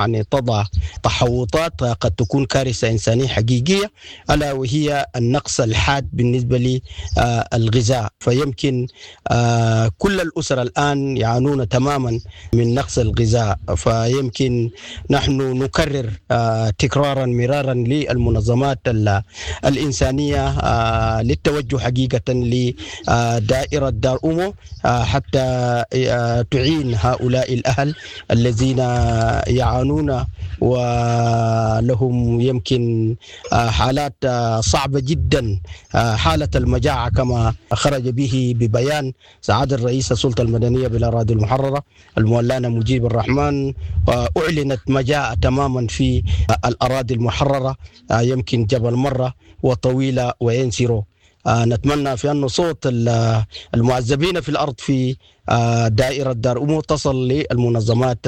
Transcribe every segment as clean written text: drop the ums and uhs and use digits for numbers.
يعني تضع تحوطات قد تكون كارثة إنسانية حقيقية، ألا وهي النقص الحاد بالنسبة للغذاء. فيمكن كل الأسر الآن يعانون تماما من نقص الغذاء. فيمكن نحن نكرر تكرارا مرارا للمنظمات الإنسانية للتوجه حقيقة لدائرة دار أمو حتى تعين هؤلاء الأهل الذين يعانون ولهم يمكن حالات صعبة جدا، حالة المجاعة كما خرج به ببيان سعادة الرئيس السلطة المدنية بالأراضي المحررة المولانا مجيب الرحمن. وأعلنت مجاعة تماما في الأراضي المحررة، يمكن جبل مرة وطويلة وينسرو. نتمنى في أن صوت المعذبين في الأرض في دائرة دار أمو تصل للمنظمات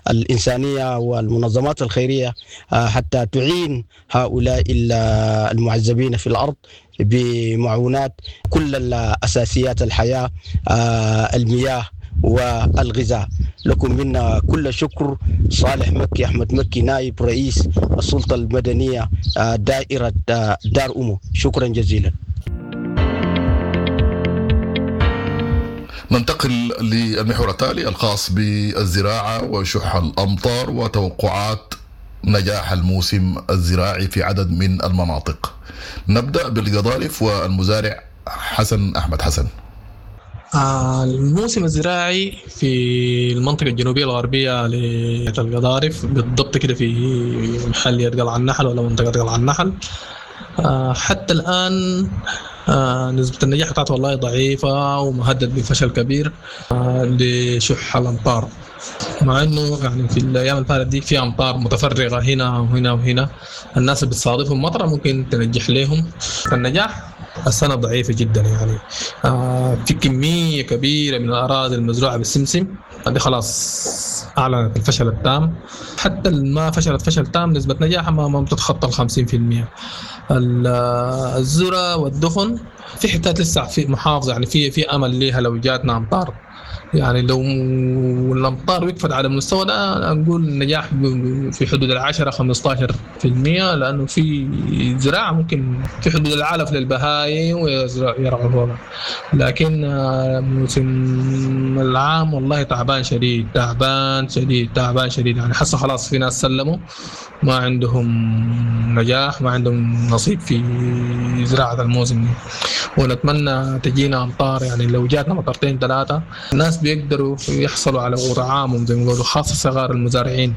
الإنسانية والمنظمات الخيرية حتى تعين هؤلاء المعذبين في الأرض بمعونات كل الأساسيات الحياة، المياه والغذاء. لكم منا كل شكر. صالح مكي أحمد مكي، نائب رئيس السلطة المدنية دائرة دار أمو، شكرا جزيلا. ننتقل للمحور التالي الخاص بالزراعة وشح الأمطار وتوقعات نجاح الموسم الزراعي في عدد من المناطق. نبدأ بالقضارف والمزارع حسن أحمد حسن. الموسم الزراعي في المنطقة الجنوبية الغربية للقضارف بالضبط كده في محلية قلعة النحل ولا منطقة قلعة النحل، حتى الآن نسبة النجاح بتاعته والله ضعيفة ومهدد بفشل كبير لشح الأمطار، مع انه يعني في الايام الفاتت دي في امطار متفرغه هنا وهنا وهنا، الناس اللي بتصادفهم مطره ممكن تنجح لهم. فالنجاح السنة ضعيفة جدا يعني. في كمية كبيرة من الاراضي المزروعه بالسمسم دي خلاص اعلنت الفشل التام، حتى ما فشلت فشل تام نسبه نجاحها ما بتتخطى ال 50%. الذرة والدخن في حتات لسه في محافظة يعني في امل ليها لو جاتنا امطار، يعني لو الامطار وقفت على المستوى ده نقول النجاح في حدود 10 15%، لانه في زراعة ممكن في حدود العلف للبهايم ويرعوا فوقها. لكن موسم العام والله تعبان شديد تعبان شديد تعبان شديد يعني، حسه خلاص في ناس سلموا ما عندهم نجاح، ما عندهم نصيب في زراعة الموسم دي. ونتمنى تجينا امطار، يعني لو جاتنا مطرتين ثلاثة الناس بيقدروا يحصلوا على طعامهم زي ما بيقولوا، خاصة صغار المزارعين.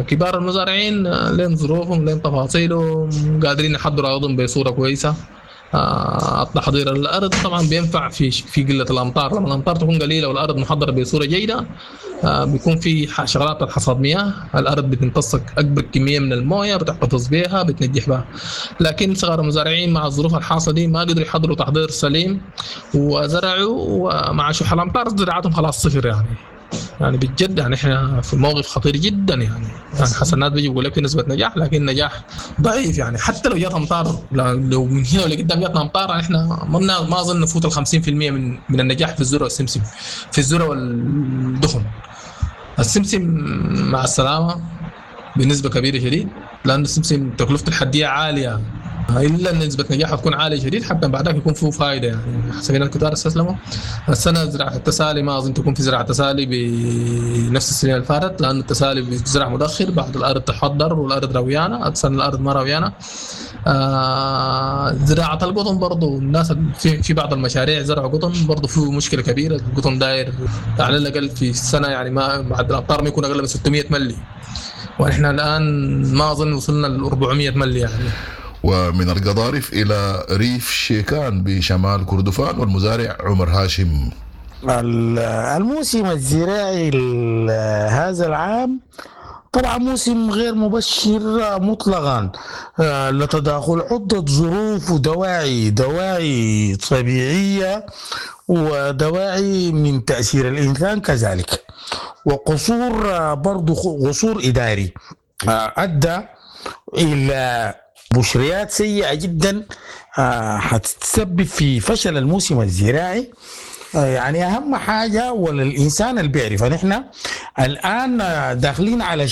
كبار المزارعين لين ظروفهم لين تفاصيلهم قادرين يحضروا ارضهم بصورة كويسة. التحضير الارض طبعا بينفع في قلة الامطار، لما الامطار تكون قليله والارض محضرة بصورة جيدة بيكون في شغلات الحصاد مياه، الارض بتمتص اكبر كمية من المويه بتحتفظ بها بتنجح بها. لكن صغار المزارعين مع الظروف الحاصلة دي ما قدروا يحضروا تحضير سليم وزرعوا، ومع شح الامطار زراعتهم خلاص صفر يعني بجد يعني احنا في موقف خطير جدا يعني حسنات بيجي بيقول لك في نسبه نجاح، لكن نجاح ضعيف يعني. حتى لو جات امطار، لو من هنا ولقدام جاتنا امطار يعني احنا ما اظن نفوت ال 50% من النجاح في الذرة والسمسم، في الذرة والدخن. السمسم مع السلامة بنسبة كبيرة شديد، لان السمسم تكلفته الحدية عالية، الا ان نسبه نجاحها تكون عالية شديد حتى بعدك يكون فيه فائدة يعني. حسب الكتار استسلموا السنة زراعة التسالي ما اظن تكون في زراعة تسالي بنفس السنة اللي فاتت، لان التسالي بيزرع متاخر بعد الارض تحضر والارض رويانه، السنة الارض ما رويانه. زراعة القطن برضو الناس في بعض المشاريع زرعوا قطن برضو فيه مشكلة كبيرة، القطن داير على الاقل في السنة يعني ما بعد الامطار ما يكون اقل من 600 ملي، ونحن الان ما اظن وصلنا ل 400 ملي يعني. ومن القضارف إلى ريف شيكان بشمال كردفان والمزارع عمر هاشم. الموسم الزراعي هذا العام طبعا موسم غير مبشر مطلقا، لتداخل عدة ظروف ودواعي، دواعي طبيعية ودواعي من تأثير الإنسان كذلك، وقصور برضو قصور إداري أدى إلى بشريات سيئة جدا حتتسبب في فشل الموسم الزراعي. يعني أهم حاجة ولا الإنسان اللي بيعرف، نحن الآن داخلين على